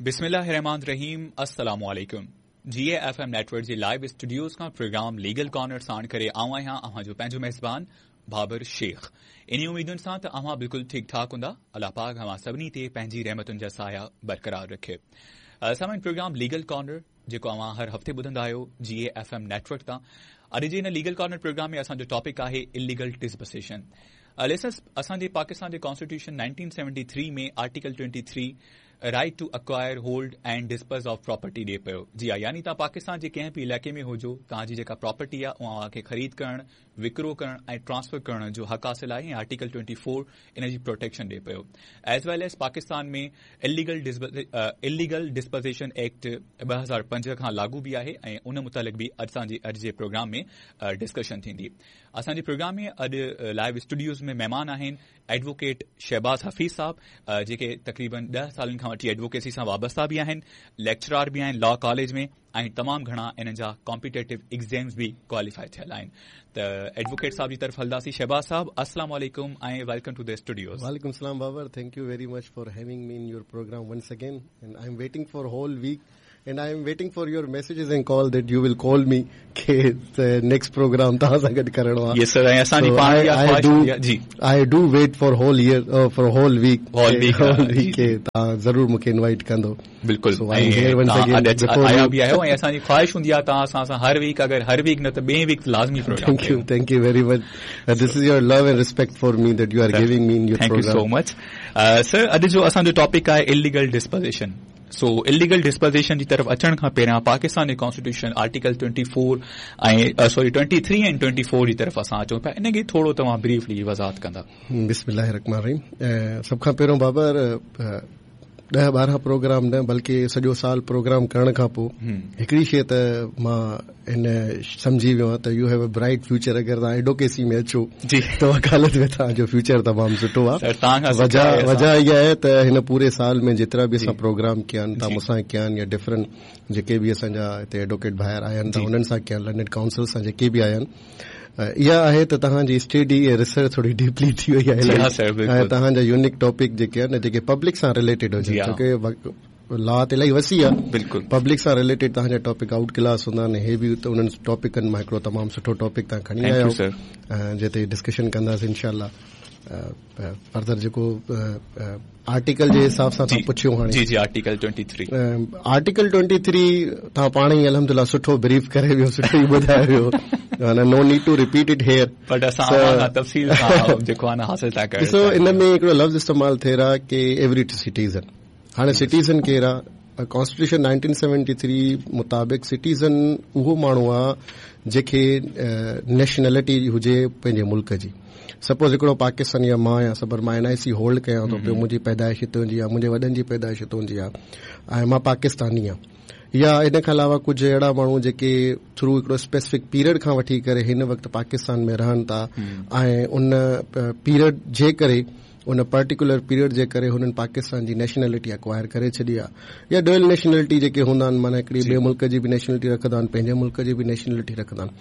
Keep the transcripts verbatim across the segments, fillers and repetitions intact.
बिस्मिल्लाहिर्रहमानिर्रहीम। अस्सलाम वालेकुम। G A F M network जे लाइव स्टूडियोज़ खां प्रोग्राम लीगल कॉर्नर साण करे आऊं आहियां अव्हां जो पंहिंजो मेज़बान बाबर शेख। इन उम्मीदुनि सां त अव्हां बिल्कुलु ठीकु ठाक हूंदा। अलाह पाक अव्हां सभिनी ते पंहिंजी रहमतुनि जा साया बरक़रार रखे। सामान प्रोग्राम लीगल कॉर्नर जेको अव्हां हर हफ़्ते ॿुधंदा आहियो जी ए एफ एम नेटवर्क तां, अॼु जे हिन लीगल कॉर्नर प्रोग्राम में असांजो टॉपिक आहे इलीगल डिस्पोज़िशन। लिसनर्स, असांजे पाकिस्तान जे constitution nineteen seventy three में article twenty three right to acquire, hold and dispose of property ॾिए पियो। जी हा, यानी तव्हां पाकिस्तान जे कंहिं बि इलाइक़े में हुजो, तव्हांजी जेका प्रॉपर्टी आहे उहा तव्हांखे ख़रीद करणु, विकिरो करणु ऐं ट्रांसफर करण जो हक़ हासिल आहे ऐं आर्टिकल ट्वेंटी फोर इन जी प्रोटेक्शन ॾिए पियो। As well as Pakistan में इलीगल इलीगल डिस्पोज़िशन एक्ट ॿ हज़ार पंज खां लागू बि आहे ऐं उन मुतालिक़ बि असांजे अॼु जे प्रोग्राम में डिस्कशन थींदी। असांजे प्रोग्राम में अॼु लाइव स्टूडियोज़ में महिमान आहिनि एडवोकेट शहबाज़ हफ़ीज़ साहब, जेके तक़रीबन ॾह सालनि खां वठी एडवोकेसी सां वाबस्ता बि आहिनि, लेक्चरार बि आहिनि लॉ कॉलेज में ऐं तमामु घणा इन्हनि जा कॉम्पिटेटिव एग्ज़ाम्स बि क्वालिफाई थियल आहिनि। त एडवोकेट साहब जी तरफ़ हलंदासीं। शहबाज़ साहब, अस्सलाम वालेकुम ऐं welcome to the studios. वालेकुम सलाम Babar, thank you very much for having me in your program once again and I am waiting for whole week and I am waiting for your messages and call that you will call me के next program तव्हां सां गॾु करिणो आहे। Yes sir, ऐं असांजी पाण इहा ख़्वाहिश हूंदी आहे। जी, I do wait for whole year, for whole week, whole week whole week के तव्हां ज़रूर मूंखे इनवाइट कंदो। बिल्कुलु, आया बि आहियो ऐं असांजी ख़्वाहिश हूंदी आहे तव्हां असां सां हर वीक, अगरि हर वीक न त ॿिए वीक लाज़मी programme. Thank you, thank you very much. This is your love and respect for me that you are giving me in your thank you so much sir. अॼु जो असांजो टॉपिक आहे illegal disposition. So illegal disposition जी तरफ़ अचण खां पहिरियां पाकिस्तान जे constitution article twenty four ऐं sorry twenty three ऐं ट्वेंटी फोर जी तरफ़ असां अचूं पिया, इन खे थोरो तव्हां ब्रीफली वज़ाहत कंदा। बिस्मिल्लाहिर्रहमानिर्रहीम। सभ खां पहिरियों बाबर, ॾह ॿारहं प्रोग्राम न बल्कि सॼो साल प्रोग्राम करण खां पोइ हिकिड़ी शइ त मां हिन सम्झी वियो आहियां त you have a bright future. अगरि तव्हां एडवोकेसी में अचो त वकालत में तव्हांजो फ्यूचर तमामु सुठो आहे। वजह वजह इहा आहे त हिन पूरे साल में जेतिरा बि असां प्रोग्राम कया आहिनि, तव्हां मूंसां कया आहिनि या डिफरेंट जेके बि असांजा हिते एडवोकेट ॿाहिरि आया आहिनि, तव्हां उन्हनि सां कया आहिनि, लर्नेड काउंसिल सां जेके बि आया आहिनि, इहा आहे त तव्हांजी स्टडी ऐं रिसर्च थोरी डीपली थी वई आहे ऐं तव्हांजा यूनिक टॉपिक जेके आहिनि जेके पब्लिक सां रिलेटेड हुजनि, छो लॉ त इलाही वसी आहे, बिल्कुलु पब्लिक सां रिलेटेड तव्हांजा टॉपिक आउट क्लास हूंदा आहिनि। हे बि त उन्हनि टॉपिकनि मां हिकिड़ो तमामु सुठो टॉपिक तव्हां खणी आया आहियो जेते डिस्कशन कंदासीं इंशाअल्लाह। फर्दर जेको आर्टिकल जे हिसाब सां तव्हां पुछियो हाणे, जी जी, article twenty three, article twenty three तव्हां पाण ई अल्हम्दुलिल्लाह सुठो ब्रीफ करे वियो, सुठो ई ॿुधाए वियो, no need to repeat it here, but असां तफ़सील सां जेको आहे न हासिल था कयूं। ॾिसो, इन में हिकिड़ो लफ़्ज़ इस्तेमाल थिए रहा की एवरी सिटीज़न। हाणे सिटीज़न केरु आहे? कॉन्स्टिट्यूशन नाइनटीन सेवेंटी थ्री मुताबिक़ सिटीज़न उहो माण्हू आहे जंहिंखे नेशनलिटी हुजे पंहिंजे मुल्क जी। सपोज़ हिकिड़ो पाकिस्तानी आहे, मां आहियां, सबर मां एन आई सी होल्ड कयां थो पियो, मुंहिंजी पैदाइश हितां जी आहे, मुंहिंजे वॾनि जी पैदाइश हितां जी आहे ऐं मां पाकिस्तानी आहियां। या इन खां अलावा कुझु अहिड़ा माण्हू जेके थ्रू हिकिड़ो स्पेसिफिक पीरियड खां वठी करे हिन वक़्तु पाकिस्तान में रहनि था ऐं उन पीरियड जे करे, उन पर्टिकुलर पीरियड जे करे हुननि पाकिस्तान जी नेशनलिटी अक्वायर करे छॾी आहे, या डुअल नेशनलिटी जेके हूंदा आहिनि, माना हिकिड़ी ॿिए मुल्क जी बि नेशनलिटी रखंदा आहिनि, पंहिंजे मुल्क जी बि नेशनलिटी रखंदा आहिनि।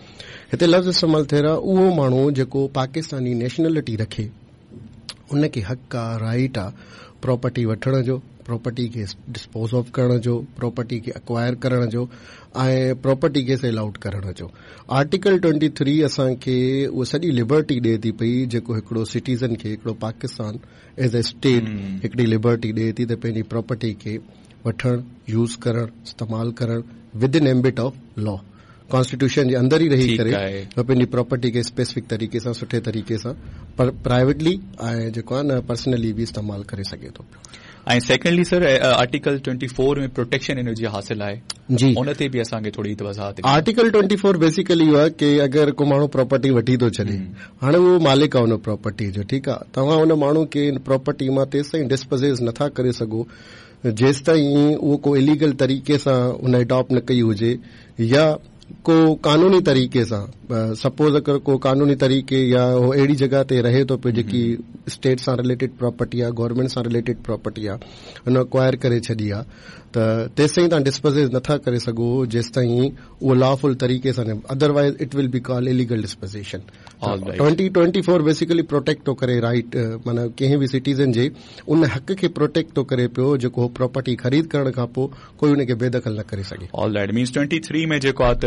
हिते लफ़्ज़ इस्तेमालु थियल आहे उहो माण्हू जेको पाकिस्तानी नेशनलिटी रखे उनखे हक़ आहे, राइट आहे प्रॉपर्टी वठण जो, प्रॉपर्टी खे डिस्पोज ऑफ करण जो, प्रॉपर्टी खे अक्वायर करण जो ऐं प्रॉपर्टी खे सेल आउट करण जो। आर्टिकल ट्वेंटी थ्री असांखे उहा सॼी लिबर्टी ॾिए थी पई जेको हिकिड़ो सिटीज़न खे, हिकिड़ो पाकिस्तान एज अ स्टेट हिकिड़ी लिबर्टी ॾिए थी त पंहिंजी प्रॉपर्टी खे वठण, यूज़ करण, इस्तेमालु करण within ambit of law, constitution जे अंदरि ई रही करे पंहिंजी प्रॉपर्टी खे स्पेसिफिक तरीक़े सां, सुठे तरीक़े सां प्राइवेटली ऐं जेको आहे न पर्सनली बि इस्तेमालु करे सघे थो पियो। ऐं secondly sir, article twenty four में प्रोटेक्शन इन जी हासिल आहे जी, उन ते बि असांखे थोरी वज़ाहत। आर्टिकल ट्वेंटी फोर बेसिकली इहो आहे की अगरि को माण्हू प्रॉपर्टी वठी थो छॾे, हाणे उहो मालिक आहे उन प्रॉपर्टी जो, ठीकु आहे, तव्हां उन माण्हू खे प्रॉपर्टी मां तेसिताईं डिस्पोज़ नथा करे सघो जेसिताईं उहो को इलीगल तरीक़े सां उन अडॉप्ट न कई हुजे या को कानूनी तरीक़े सां, सपोज़ अगरि को कानूनी तरीक़े या उहो अहिड़ी जॻह ते रहे थो पियो जेकी स्टेट सां रिलेटेड प्रॉपर्टी आहे, गवर्नमेंट सां रिलेटेड प्रॉपर्टी आहे, हुन अक्वायर करे छॾी आहे, त तेसि ताईं तव्हां डिस्पोज़ेस नथा करे सघो जेसि ताईं उहो लॉफुल तरीक़े सां, otherwise it will be call illegal dispossession. Twenty twenty four basically protect थो करे राइट, माना कंहिं बि सिटीज़न जे उन हक़ खे प्रोटेक्ट थो करे पियो जेको प्रॉपर्टी ख़रीद करण खां पोइ कोई उनखे बेदख़ल न करे सघे। ऑलराइट, मीन्स ट्वेंटी थ्री में जेको आहे त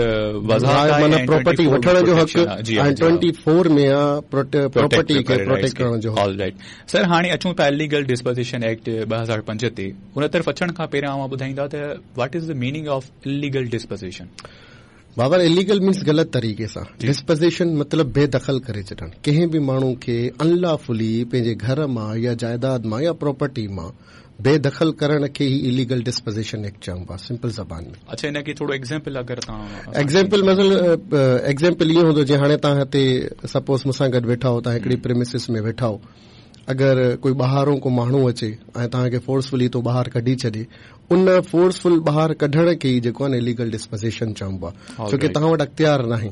वज़ाहत आहे, माना प्रॉपर्टी वठण जो हक़ ऐं ट्वेंटी फोर में आहे प्रॉपर्टी खे प्रोटेक्ट करण जो। ऑलराइट सर, हाणे अचूं था इलीगल डिस्पोज़िशन एक्ट ॿ हज़ार पंज ते। उन तरफ़ अचण खां पहिरियां अव्हां ॿुधाईंदा त what is the meaning of illegal dispossession? Babar, illegal means ग़लति तरीक़े सां, डिस्पोज़िशन मतिलबु बेदख़ल करे छॾणु, कंहिं बि माण्हू खे अनलॉफुली पंहिंजे घर मां या जाइदाद मां या प्रॉपर्टी मां बेदख़ल करण खे ई इलीगल डिस्पोज़िशन एक्ट चइबो आहे सिंपल ज़बान में। अच्छा, हिन खे थोरो एग्ज़ाम्पल अगरि तव्हां एग्ज़ाम्पल मतिलबु एग्ज़ाम्पल इहो हूंदो जीअं हाणे तव्हां हिते सपोज़ मूंसां गॾु वेठा हो, तव्हां हिकिड़ी प्रेमिसिस में वेठा हो, अगरि कोई ॿाहिरों को माण्हू अचे ऐं तव्हांखे फोर्सफुली तो ॿाहिरि कढी छॾे, उन फोर्सफुल ॿाहिरि कढण खे ई जेको आहे न इलीगल डिस्पोज़िशन चइबो आहे, छो की तव्हां वटि अख़्तियार नाहे,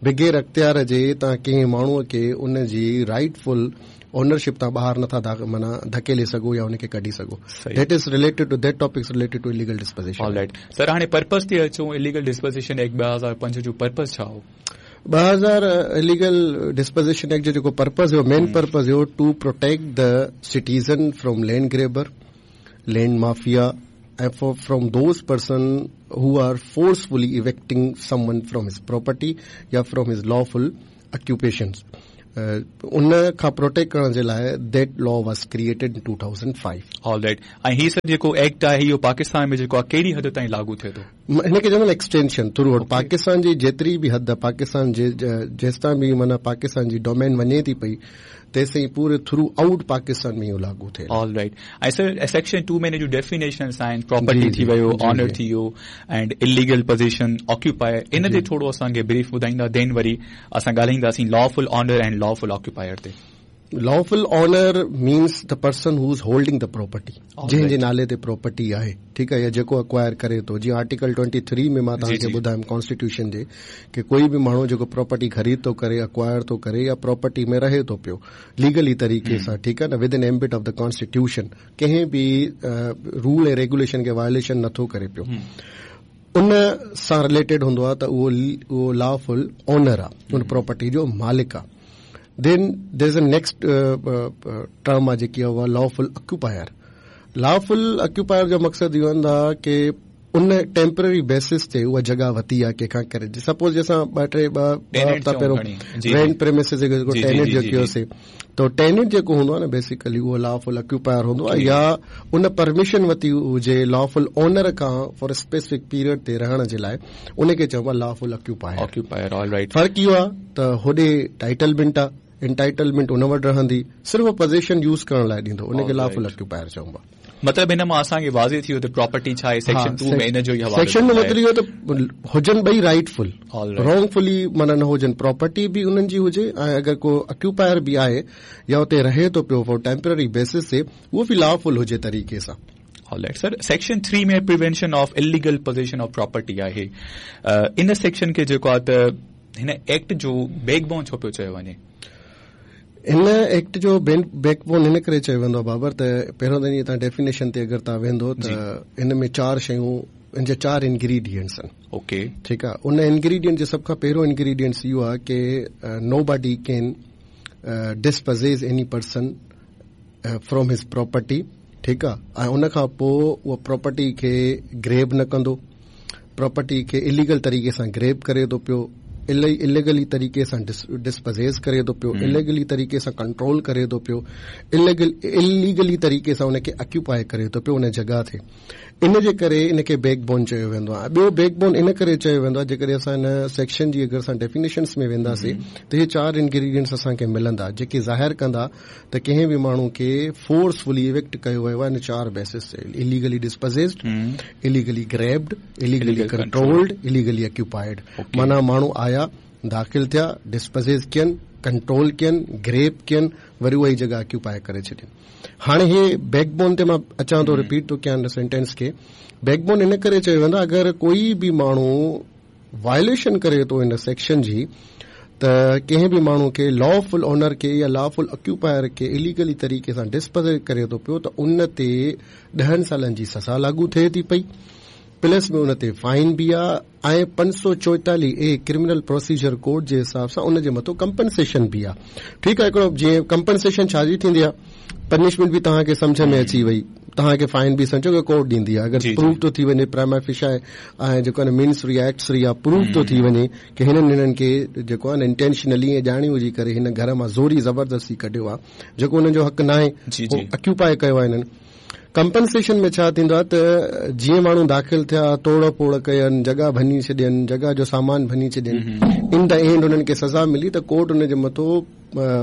बग़ैर अख़्तियार जे तव्हां कंहिं माण्हूअ खे उन जी राइटफुल ओनरशिप तां ॿाहिरि नथा माना धकेले सघो या उनखे कढी सघो। That is related to that topic is related to illegal dispossession. Alright sir, हाणे पर्पस ते अचूं। इलीगल डिस्पोज़िशन एक्ट ॿ हज़ार पंज जो पर्पस छा हो? ॿ हज़ार इलीगल डिस्पोज़िशन एक्ट जो जेको पर्पस हुयो, मेन पर्पस हुयो to protect the citizen from land grabber, land mafia and for, from those person who are forcefully evicting someone from his property या from his lawful occupations. उन खां protect करण जे लाइ that law was created in two thousand five. Alright, ऐं ही sir जेको act आहे इहो पाकिस्तान में जेको आहे कहिड़ी हद ताईं लागू थिए थो? हिनखे चवंदा एक्सटेंशन थ्रू आउट पाकिस्तान जी जेतिरी बि हद पाकिस्तान जे जेसिताईं बि माना पाकिस्तान जी डोमेन वञे थी पई तेसिताईं पूरे थ्रू आउट पाकिस्तान में इहो लागू थिए। ऑलराइट, ऐं सर सेक्शन टू में हिन जूं डेफिनेशंस आहिनि, प्रॉपर्टी थी वियो, ऑनर थी वियो एंड इलीगल पोज़िशन ऑक्यूपायर, इन ते थोरो असांखे ब्रीफ ॿुधाईंदा, then worry असां ॻाल्हाईंदासीं lawful owner and lawful occupier ते। Lawful owner means the person who is holding the property, जंहिंजे नाले ते प्रॉपर्टी आहे, ठीकु आहे, या जेको अक्वायर करे थो। जीअं आर्टिकल ट्वेंटी थ्री में मां तव्हांखे ॿुधायुमि कॉन्स्टिट्यूशन जे की कोई बि माण्हू जेको प्रॉपर्टी ख़रीद थो करे, अक्वायर थो करे या प्रॉपर्टी में रहे थो पियो लीगली तरीक़े सां, ठीकु आहे न, within ambit of the constitution, कंहिं बि रूल ऐं रेगुलेशन खे वायोलेशन नथो करे पियो, उन सां रिलेटेड हूंदो आहे त उहो उहो लॉफुल ओनर आहे, उन प्रॉपर्टी जो मालिक आहे। Then there is a next term आहे जेकी आहे उहा लॉफुल ऑक्यूपायर। लॉफुल ऑक्यूपायर जो मक़सदु इहो हूंदो आहे की उन टेम्पररी बेसिस ते उहा जॻह वरिती आहे कंहिंखां करे। सपोज़ असां ॿ टे ॿ हफ़्ता पहिरियों रेंट प्रेमिसिस जेको टेनेंट जो कयोसीं, त टेनेंट जेको हूंदो आहे न बेसिकली उहो लॉफुल ऑक्यूपायर हूंदो आहे या उन परमिशन वरिती हुजे लॉफुल ओनर खां फॉर स्पेसिफिक पीरियड ते रहण जे लाइ, उनखे चइबो आहे लॉफुल ऑक्यूपायर। Occupier, alright. फ़र्क़ु इहो आहे त होॾे टाइटलमेंट आहे, एंटाइटलमेंट उन वटि रहंदी, सिर्फ़ु पोज़िशन यूज़ करण लाइ ॾींदो, उनखे लॉफुल ऑक्यूपायर चइबो आहे। मतिलबु हिन मां असांखे वाज़े थी वियो त प्रॉपर्टी छा आहे, सेक्शन टू में इन जो ई हवालो सेक्शन में मतिलबु इहो त हुजनि ॿई राइटफुल, रॉन्गफुली माना न हुजनि, प्रॉपर्टी बि उन्हनि जी हुजे ऐं अगरि को ऑक्यूपायर बि आहे या उते रहे थो पियो फॉर टेम्पररी बेसिस ते, उहो बि लॉफुल हुजे तरीक़े सां। ऑलराइट सर, सेक्शन थ्री में prevention of illegal possession of property आहे। इन सेक्शन खे जेको आहे त हिन एक्ट जो बैकबोन छो पियो चयो वञे? हिन एक्ट जो बैकबोन हिन करे चयो वेंदो आहे बाबर त पहिरियों त ईअं तव्हां डेफिनेशन ते अगरि तव्हां वेंदो त हिन में चारि शयूं, इन जा चारि इनग्रीडियंट्स आहिनि। ओके, ठीकु आहे। उन इनग्रीडियंट जो सभ खां पहिरियों इनग्रीडियंट्स इहो आहे की nobody can dispossess any person from his property, ठीकु आहे, ऐं उन खां पोइ उहा प्रॉपर्टी खे ग्रेब न कंदो, प्रॉपर्टी खे इलीगल तरीक़े सां ग्रेब करे थो पियो, इलीगली तरीक़े सां डिस्पोज़ेस करे थो पियो, इलीगली तरीक़े सां कंट्रोल करे थो पियो, इलीगल इलीगली तरीक़े सां उनखे ऑक्यूपाई करे थो पियो उन जॻह ते। इन जे करे इनखे बैकबोन चयो वेंदो आहे। ॿियो बैकबोन इन करे चयो वेंदो आहे, जेकॾहिं असां हिन सेक्शन जी अगरि असां डेफिनेशंस में वेंदासीं त इहे चारि इनग्रीडियंट्स असांखे मिलंदा जेके ज़ाहिर कंदा त कंहिं बि माण्हू खे फोर्सफुली इविक्ट कयो वियो आहे इन चारि बेसिस ते, illegally dispossessed, illegally grabbed, illegally controlled, illegally occupied. माना माण्हू आया, दाख़िल थिया, डिस्पोज़ेस कनि, कंट्रोल कनि, ग्रेब कनि, वरी उहा ई जॻह ऑक्यूपाई करे छॾनि। हाणे हे बैकबोन ते मां अचां थो, रिपीट थो कयां हिन सेंटेंस खे। बैकबोन इन करे चयो वेंदो आहे अगरि कोई बि माण्हू वायलेशन करे थो हिन सेक्शन जी त कंहिं बि माण्हू खे लॉफुल ओनर खे या लॉफुल ऑक्यूपायर खे इलीगली तरीक़े सां डिस्पोज़ करे थो पियो त उन ते ॾहनि सालनि जी सज़ा लागू थिए थी पई, प्लस में उन ते फाइन बि आहे ऐं पंज सौ चोएतालीह ए क्रिमिनल प्रोसीजर कोड जे हिसाब सां उन जे मथां कंपनसेशन बि आहे। ठीकु आहे, हिकिड़ो जीअं कंपनसेशन छाजी थींदी आहे, पनिशमेंट बि तव्हांखे सम्झ में अची वई, तव्हांखे फाइन बि सम्झो की कोर्ट ॾींदी आहे। अगरि प्रूव थो थी वञे प्राइमा फेशिया ऐं जेको आहे मीन्स रिएक्ट्स या प्रूव थो थी वञे की हिननि हिननि खे जेको आहे न इंटेंशनली ऐं ॼाणी हुजी करे हिन घर मां ज़ोरी ज़बरदस्ती कढियो आहे, जेको हुननि जो हक़ न आहे, ऑक्यूपाई कयो आहे हिननि। कंपनसेशन में छा थींदो आहे त जीअं माण्हू दाख़िल थिया, तोड़ फोड़ कयनि, जॻह भञी छॾियनि, जॻह जो सामान भञी छॾियनि, इन the and हुननि खे सज़ा मिली त कोर्ट हुन जे मथां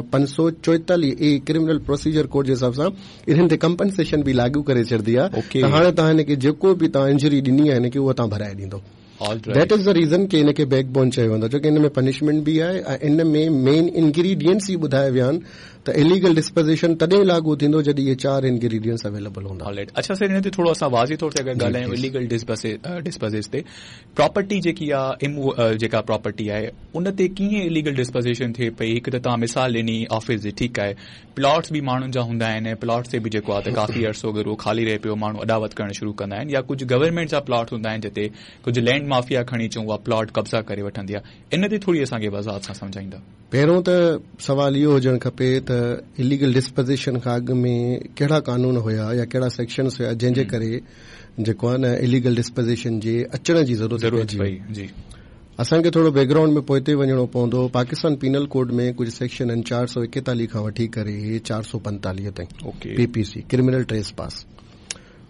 पंज सौ चोएतालीह ए क्रिमिनल प्रोसीजर कोड जे हिसाब सां इन्हनि ते कंपनसेशन बि लागू करे छॾींदी आहे। त हाणे तव्हां हिनखे जेको बि तव्हां इंजरी ॾिनी आहे हिनखे उहा तव्हां भराए ॾींदो। That is the reason की हिनखे बैकबोन चयो वेंदो आहे, छो की हिन में पनिशमेंट बि आहे ऐं इन में मेन इनग्रीडियंट्स ई ॿुधाया विया आहिनि त इलीगल डिस्पोज़िशन तॾहिं लागू थींदो जॾहिं इहे चारि इनग्रीडियंट्स अवेलेबल हूंदा। ऑलराइट, अच्छा सर, हिन ते थोरो असां वाज़े तौर ते अगरि ॻाल्हायूं इलीगल डिस्पोज़िश ते, प्रॉपर्टी जेकी आहे, जेका प्रॉपर्टी आहे उन ते कीअं इलीगल डिस्पोज़िशन थिए पई? हिकु त तव्हां मिसाल ॾिनी ऑफिस जी, ठीकु आहे, प्लॉट्स बि माण्हुनि जा हूंदा आहिनि, प्लॉट्स ते बि जेको आहे त काफ़ी अरसो अगरि उहो ख़ाली रहे पियो, माण्हू अॾावत करणु शुरू कंदा आहिनि, या कुझु गवर्नमेंट जा प्लॉट हूंदा आहिनि जिते कुझु लैंड माफिया खणी चऊं उहा प्लॉट कब्ज़ा करे वठंदी आहे, इन ते थोरी असांखे वज़ाहत सां सम्झाईंदा। पहिरियों त सवाल इहो हुजणु खपे त इलीगल डिस्पोज़िशन खां अॻु में कहिड़ा कानून हुया या कहिड़ा सेक्शन्स हुया जंहिंजे करे जेको आहे न इलीगल डिस्पोज़िशन जे अचण जी ज़रूरत पई। जी, असांखे थोरो बैकग्राउंड में पोइते वञिणो पवंदो। पाकिस्तान पीनल कोड में कुझु सेक्शन आहिनि चारि सौ एकतालीह खां वठी करे चारि सौ पंजतालीह ताईं, पीपीसी क्रिमिनल ट्रेस पास।